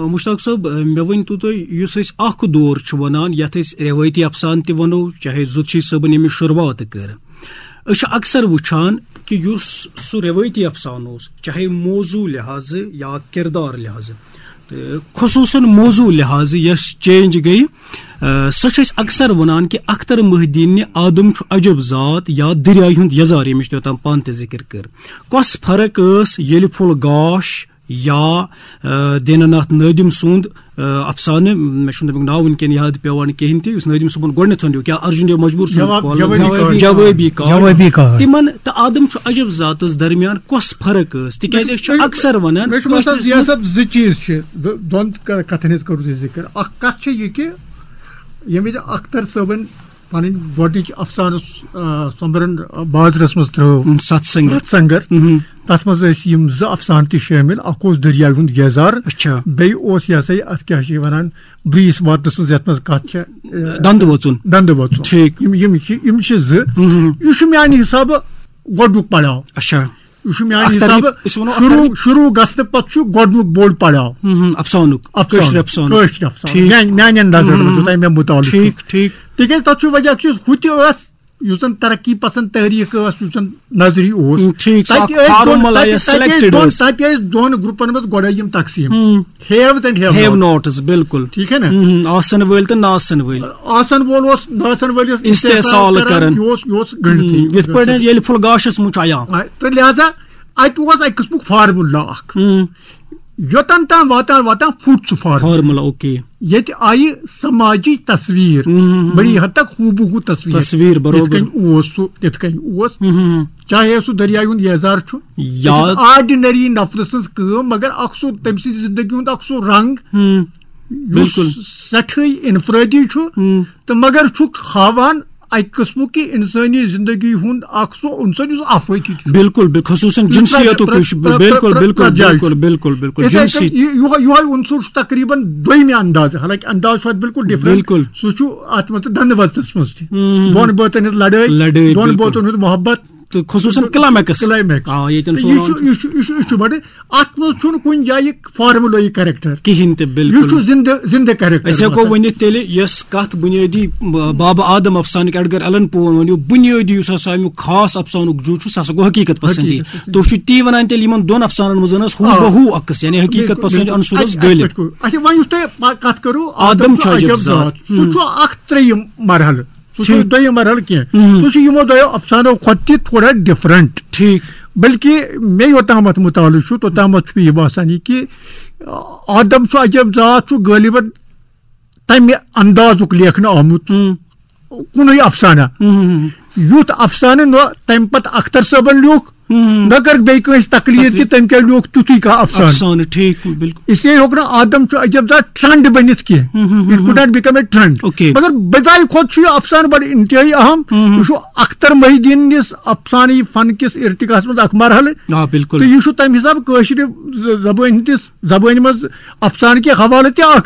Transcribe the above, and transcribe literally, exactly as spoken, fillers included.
مشتاق صٲب، مےٚ ؤنۍ تو تُہۍ، یُس أسۍ اکھ دور چھِ وَنان، یَتھ أسۍ رٮ۪وٲیتی افسانہٕ تہِ وَنو، چاہے زُتشی صٲبن ییٚمِچ شروٗعات کٔر، أسۍ چھِ اکثر وٕچھان کہِ یُس سُہ رٮ۪وٲیتی افسانہٕ اوس، چاہے موضوع لحاظہٕ یا کردار لحاظہٕ، تہٕ خصوٗصاً موضوع لحاظہٕ یۄس چینج گٔیہِ، آ، سۄ چھِ أسۍ اکثر وَنان کہِ اختر محی الدیٖن نہِ آدم چھُ عجب ذات یا دٔریایہِ ہُنٛد یَزار، ییٚمِچ تۄہہِ اوٚتام پانہٕ تہِ ذِکر کٔر۔ کۄس فرق ٲس ییٚلہِ پھوٚل گاش یا، آ، دیٖنہٕ ناتھ نٲدِم سُنٛد، آ، افسانہٕ، مےٚ چھُنہٕ تَمیُک ناو وٕنکٮ۪ن یاد پٮ۪وان کِہیٖنۍ تہِ، یُس نٲدِم صٲبن گۄڈٕنیتھ وَنیو، کیٛاہ ارجُن دیو مجبوٗر سُنٛد جواب-، کال-، جوابی کال۔ جوابی کال۔ جوابی کال۔ تِمن تہٕ آدم چھُ عجب ذاتس درمیان کۄس فرق ٲس؟ تِکیٛازِ أسۍ چھِ مےٚ چھُ، اکثر وَنان مےٚ چھُ باسان کٲشرِس ضیاء منٛز صٲب زٕ چیٖز چھِ، زٕ، دۄن ک-، کَتھن ہٕنٛز کٔرٕو تُہۍ ذِکر۔ اکھ کَتھ چھِ یہِ کہِ ییٚمہِ وِزِ اختر صٲبن پنٕنۍ گۄڈٕنِچ افسانہٕ، آ، سۄمبرن بازرس منٛز ترٲو۔ ستھ سنگر۔ ستھ سنگر۔ مہم۔ تتھ منٛز ٲسۍ یِم زٕ افسانہٕ تہِ شٲمِل۔ اکھ اوس دٔریاوِ ہُنٛد ییزار۔ اچھا۔ بیٚیہِ اوس، یہِ ہسا یہِ، اتھ کیٛاہ چھِ یہِ ونان، بریٖس واتنہٕ سٕنٛز، یتھ منٛز کتھ چھےٚ، آ، دندٕ وۄژُن۔ دندٕ وۄژُن۔ ٹھیٖک۔ یِم، یِم چھِ، یِم چھِ زٕ۔ مہم۔ یہِ چھُ میانہِ حسابہٕ گۄڈنیُک پڑاو۔ اچھا۔ یہِ چھُ میانہِ اختر حسابہٕ یہِ، أسۍ وَنو اختر شروع، یہِ۔ شروع گژھنہٕ پتہٕ چھُ گۄڈنیُک بوٚڑ پڑاو۔ مہم، افسانُک، افسانُک۔ کٲشِر افسانُک۔ کٲشِر افسانُک۔ ٹھیٖک۔ میانہِ، میانہِ اندازٕ مہم۔ یوٚتام مےٚ مُطالعہٕ چھُ۔ ٹھیٖک، ٹھیٖک۔ تِکیٛازِ تَتھ چھُ وجہ کہِ ہُہ تہِ ٲس، یُس زَن ترقی پسند تحریٖک ٲس، یُس زَن نظری اوس۔ ہم، ٹھیٖک، سُہ تَتہِ اکھ ٲسۍ دۄن، formula تَتہِ، یا تَتہِ ٲسۍ selected دۄن، ٲس۔ تَتہِ ٲسۍ دۄن گروپن منٛز گۄڈے یِم تقسیٖم۔ ہم۔ Haves and have have nots۔ Nots، بِلکُل۔ ٹھیٖک ہے نا؟ ہم، آسن وٲلۍ تہٕ نہ آسن وٲلۍ۔ آسن وول اوس نہ آسن وٲلِس استحصال استحصال کران۔ کران، یہِ اوس، یہِ اوس گٔنڈتھٕے۔ ہم، یِتھ پٲٹھۍ ییٚلہِ پھُل گاش اوس مُچھ عیان۔ آ، تہٕ لہذا اَتہِ اوس اَکہِ قٕسمُک formula اکھ۔ ہم۔ یوٚتن تام واتان واتان پھُٹ سُہ formula۔ Formula، okay۔ ییٚتہِ آیہِ سماجی تصویر ہم، ہم، ہم۔ بڑی حد تک ہو بہ ہو تصویر۔ تصویر، برابر۔ یِتھ کٔنۍ اوس سُہ، تِتھ کٔنۍ اوس۔ ہم، ہم، ہم۔ چاہے سُہ دٔریاے ہُنٛد ییزار چھُ، یا یہِ چھُ ordinary نفرٕ سٕنٛز کٲم، مگر اکھ سُہ تٔمۍ سٕنٛدِ زندگی ہُنٛد اکھ سُہ رنگ، ہم۔ یُس بِلکُل۔ سٮ۪ٹھٕے انفرٲدی چھُ، ہم۔ تہٕ مگر چھُکھ ہاوان اَکہِ قٕسمُک کہِ اِنسٲنی زِندگی ہُنٛد اکھ سُہ عنصر یُس آفٲقی چھُ۔ بِلکُل، بِل-، خصوٗصاً یُس جِنسیتُک پرٛ-، یُس پرٛ-، بِلکُل، پرٛ-، بِلکُل، پرٛ-، بِلکُل، بِلکُل، بِلکُل، یِتھَے جِنسی۔ کٔنۍ یہِ-، یِہوٚے، یِہوٚے عنصر چھُ تقریٖباً دوٚیمہِ اندازٕ، حالانکہِ انداز چھُ اَتھ بِلکُل different۔ بِلکُل۔ سُہ چھُ اَتھ منٛز تہٕ دَنٛدٕ وَژَس منٛز تہِ۔ ہُم۔ دۄن بٲژَن ہٕنٛز لڑٲے، لڑٲے، دۄن بِلکُل۔ بٲژَن ہُنٛد محبت۔ تہٕ خصوٗصاً تہٕ climax۔ Climax۔ آ، ییٚتٮ۪ن تہٕ سُہ یہِ وَنان چھُ، چھُ۔ یہِ چھُ، یہِ چھُ، یہِ چھُ بَڑٕ، اَتھ منٛز چھُنہٕ کُنہِ جایہِ formula یہِ character۔ کِہیٖنۍ تہِ، بِلکُل۔ یہِ چھُ زِندٕ، زِندٕ character أسۍ ہٮ۪کو آسان۔ ؤنِتھ تیٚلہِ، یۄس کَتھ بُنیٲدی، ب-، بابا آدم افسانٕکۍ ایڈگر ایلن پوون ووٚن، یہِ بُنیٲدی یُس ہسا اَمیُک خاص افسانُک جُز چھُ، سُہ ہسا گوٚو حقیٖقت پسندی۔ حقیٖقت پسندی۔ تُہۍ چھِو تی وَنان تیٚلہِ یِمن دۄن افسانن منٛز ٲس ہُو آ۔ بہ ہو عکس، یعنی حقیٖقت بِلکُل، پسندی بِلکُل۔ عنصر اوس اَتہِ، اَتہِ گٔلِتھ۔ پٮ۪ٹھ کوٚر۔ اچھا، وۄنۍ یُس تۄہہِ پا-، کَتھ کٔرٕو، آدم آدم چھُ چھُ عجب عجب ذات۔ ذات۔ سُہ ہُم۔ چھُ اکھ ترٛیٚیِم مرحلہٕ۔ سُہ چھُنہٕ ٹھیٖک۔ دوٚیِم مرحلہٕ کینٛہہ۔ ہُم۔ سُہ چھُ یِمو دۄیو افسانو کھۄتہٕ تہِ تھوڑا different۔ ٹھیٖک۔ بلکہِ مےٚ یوٚتامَتھ مُطالعہٕ چھُ، توٚتامَتھ چھُ مےٚ یہِ باسان یہِ کہِ آدم چھُ عجب ذات چھُ غٲلباً تَمہِ اندازُک لیکھنہٕ آمُت ہُم۔ کُنُے افسانہ۔ ہُم، ہُم، ہُم۔ یُتھ افسانہٕ نہ تَمہِ پتہٕ اختر صٲبن لیوٚکھ، ہُم۔ نہ کٔرٕکھ بیٚیہِ کٲنٛسہِ تقلید کہِ تقلید۔ تٔمۍ کیٛاہ لیوٚکھ تیُتھُے کانٛہہ افسانہٕ۔ افسانہٕ، ٹھیٖک، بِلکُل۔ اس لیے ہیوٚک نہٕ آدم چھُ عجب ذات trend بٔنِتھ کینٛہہ۔ ہُم، ہُم، ہُم، It could ہُم۔ Not become a trend۔ Okay۔ مگر بجایہِ کھۄتہٕ چھُ یہِ افسانہٕ بڑٕ انتہٲیی اہم۔ ہُم، ہُم۔ یہِ چھُ اختر محی الدین نِس افسانہٕ فن کِس ارتقاہس منٛز اکھ مرحلہٕ۔ آ، بِلکُل۔ تہٕ یہِ چھُ تَمہِ حسابہٕ کٲشرِ ز-، زبٲنۍ ہٕنٛدِس، زبٲنۍ منٛز افسانہٕ کہِ حوالہٕ تہِ اکھ